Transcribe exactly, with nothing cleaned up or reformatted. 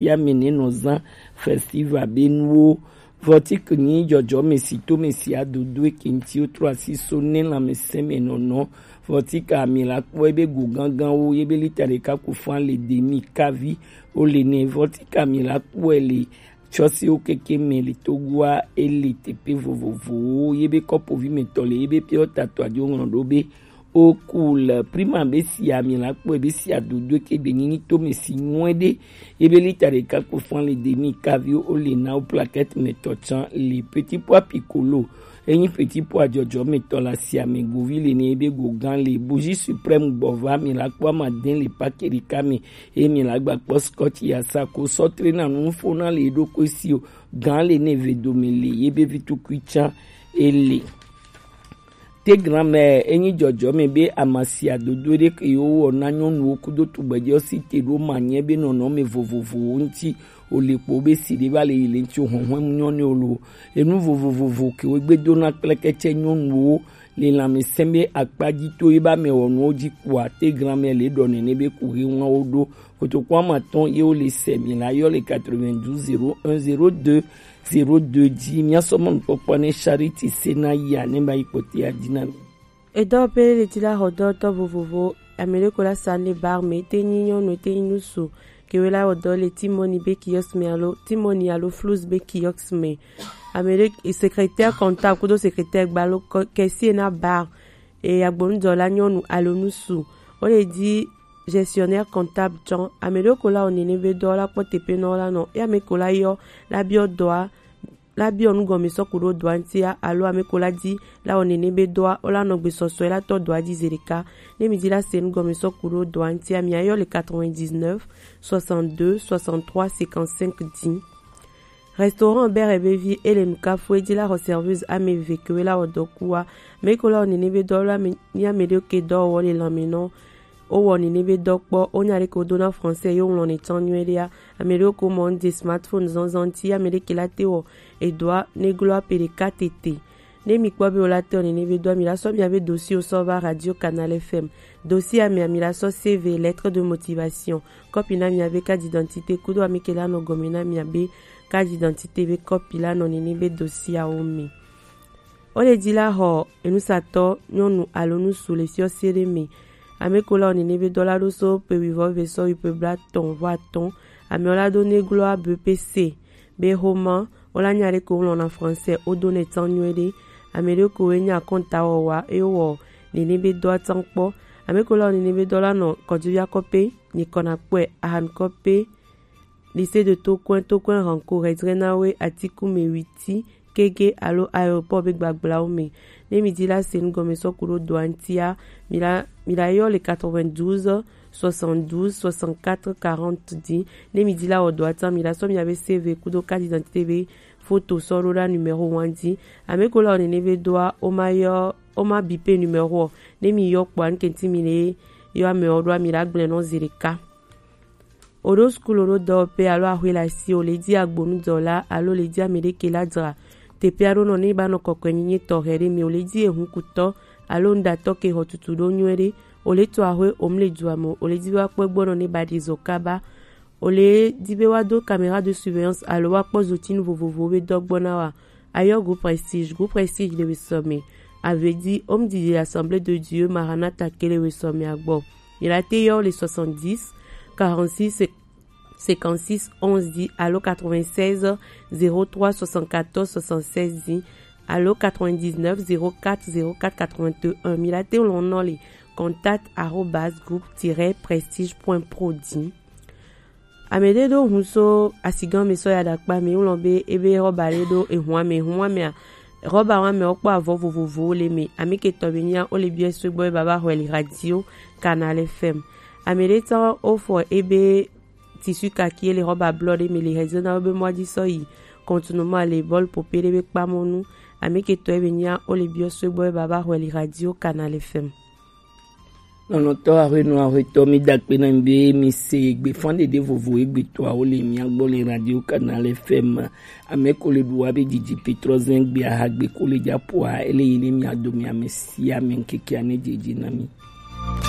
ya mi ne nɔ zan festival be nuwo. Vɔtik nyi jɔjɔ mi si to mi si adodo eke ŋti wo trɔ asi so ne lãmesẽ me nɔnɔ. Vɔtik ami la kpɔ ebe go gangan wo ye be lita ɖeka ku fan le demi kavi o le ne. Vɔtik ami la kpɔ le tsɔsiwo keke me le Togoa ele teƒe vovovowo ye be kɔpovi me tɔ le ye be piɔ tatɔ adio ŋlɔ ɖo be Oku le prima be si ami la kpɔe be si adodo ke gbe nyinyi to me si nyuɛ ɖe ye be lita ɖeka kpo fan le demi kavi o le na o plaquette me tɔ tsan le petit pois piccolo. Enyi petit pois jɔjɔ me tɔ la si ame govi le ne ye be go gan le bougie suprême gbɔ va mi la kpɔ ama den le pake ɖeka me ye mi la gba kpɔ scotch ya sa ko sɔ tre na nu fo na le ɖo ko si o gan le ne ve do me le ye be vi tukui tsan ele. Te granmɛ enyi jɔjɔme be amasia dodo ɖe ke yewo wɔ na nyɔnuwo kudo tugbɛjɛ si te ɖo manyɛ be nɔnɔme vovovowo ŋuti o le kpo be si ɖe va le yi le ŋuti o hɔnhɔn nyɔ ne o lo. Enu vovovovo ke wo gbe do na kplekɛtsɛ nyɔnuwo le lãmesẽ be akpa dzi to ye ba me wɔnuwo dzi kpoa te granmɛ le ɖɔ nene be ku he ŋlɔ wo ɖo. Kotokua ma tɔn ye wo le sɛ mi la yɔ le quatre-vingt-douze zéro un zéro deux zéro deux dzi. Mia sɔ mɔnu kpɔkpɔ ne Charity se na ya ne ba yi kpɔte ya dzi na mi. Edɔ pe le ti la xɔ dɔ tɔ vovovo. Ame ɖe ko la sa ne bar me te nyi nyɔnu te nyi nusu. Ke we la wɔ dɔ le Timoni be kiosk me alo Timoni alo Flus be kiosk me. Ame ɖe secrétaire comptable kudo secrétaire gbalo kɛsie na bar. E agbonudɔla nyɔnu alo nusu. Wo le di gestionnaire comptable tsɔ. Ame ɖewo ko la wɔ nene be dɔ la kpɔ teƒe nɔ la nɔ. Ye ame ko la yɔ la biɔ dɔa, la biɔ nu gɔme sɔ ku ɖo dɔa ŋutia alo ame ko la di la wɔ nene be dɔa, wo la nɔ gbe sɔsɔe la tɔ dɔa dzi zi ɖeka. Ne mi di la se nu gɔme sɔ ku ɖo dɔa ŋutia, mi ayɔ le quatre-vingt-dix-neuf soixante-deux soixante-trois cinquante-cinq dix. Restaurant Bere be vi ele nu kafu e di la xɔ serveuse ame eve ke we la wɔ dɔ kua. Me ko la wɔ nene be dɔ la mi ame ɖe ke dɔ wɔ le lãme nɔ. O wɔ nene be dɔ kpɔ, o nya ɖe ke o do na français yo ŋlɔ ne tsan nyuie ɖea. Ame ɖewo ko mɔ ŋde smartphone zɔnzɔn ti ame ɖe ke la te wɔ edɔa ne glo ape ɖeka tete. Ne mi kpɔ be o la te wɔ nene be dɔa, mi la sɔ mia be dossier o sɔ va Radio Canal F M. Dossier a mia mi la sɔ C V, lettre de motivation, kɔpi na mia be carte d'identité kudo ame ke la nɔ gɔme na mia be carte d'identité be kɔpi la nɔ nene be dossier awo me. O le di la xɔ enusatɔ nyɔnu alo nusu le fiɔse ɖe me. Ame ko la wɔ nene be dɔ la ɖo so pe wivɔ ve sɔ yi pe blatɔn vɔ atɔn. Ame o la do ne glo a be pe se be xoma o la nya ɖe ko ŋlɔ na français o do ne tsan nyuie ɖe. Ame ɖe ko we nya kɔnta wɔ wa e wɔ nene be dɔ a tsan kpɔ. Ame ko la wɔ nene be dɔ la nɔ kɔdzovi akɔpe, ni kɔna kpɔe ahan kɔpe, lycée de Tokoin, Tokoin Ranco, Redrenawe, Atikume, Witi, Kege alo aéroport be gbagblãwo me. Ne mi di la se nu gɔme sɔ ku ɖo dɔa ŋutia, mi la, mi la yɔ le quatre-vingt-douze soixante-douze soixante-quatre quarante dzi. Ne mi di la wɔ dɔa tsan, mi la sɔ mia be C V kudo carte d'identité be photo sɔ ɖo ɖa numéro wan dzi. Ame ko la wɔ nene be dɔa, o ma yɔ, o ma bi pe numéro o. Ne mi yɔ kpɔa, nkenti mi ne yɔ ame o ɖoa, mi la gblẽ nɔ zi ɖeka. O ɖo sukulu o ɖo dɔwɔƒe alo axwe le asi, o le di agbonudɔla alo le di ame ɖe ke la dzra teƒe aɖo nɔ ne ba nɔ kɔkɔe nyenye tɔxɛ ɖe me, o le di ehunkutɔ alo nuɖatɔ ke xɔ tutu ɖo nyuie ɖe, o le to axwe o mu le dua me o, o le di be woakpɔ egbɔ nɔ ne ba ɖi zɔ kaba, o le di be woado caméra de surveillance alo woakpɔ zotinu vovovowo be dɔ gbɔ na wa. Ayɔ groupe Prestige, groupe Prestige le wesɔme. Avedi, home didi l'Assemblée de Dieu, Maranatha ke le wesɔme agbɔ. Mi la te yɔ le soixante-dix, quarante-six, cinquante-six, onze dix, alo quatre-vingt-seize, zéro trois, soixante-quatorze, soixante-seize dix, alo quatre-vingt-dix-neuf, zéro quatre, zéro quatre, quatre-vingt-un. Mi la te lɔn nɔ le contact arobase groupe tiret prestige point pro dix. Ame ɖe ɖo hun so asigã me sɔ ya ɖakpa me, ŋlɔ be ebe rɔba ɖe ɖo ehun ame, ehun amea, rɔba wa me wokpɔ avɔ vovovowo le me. Ame ke tɔ be nya wo le biɔ so gbɔ be baba xɔe le radio Canal F M. Ame ɖe tɔ wofɔ ebe tissu kaki le rɔba blɔ ɖe me le hezena wo be mɔ dzi sɔ yi contournement le bɔl pope ɖe be kpamɔnu. Ame ke tɔ be nya wo le biɔ so gbɔ be baba xɔe le radio Canal F M. Lɔlɔ̃tɔ aƒenɔ aƒetɔ, mi da akpe na mi be mi se gbefanɖeɖe vovo egbetɔawo le mia gbɔ le Radio Canal F M. Ame ko le ɖu wa be didi Petrɔ zɛn gbe aha gbe ko le dza poa ele yi ne mia dome ame sia ame ŋkekea ne dzedze na mi.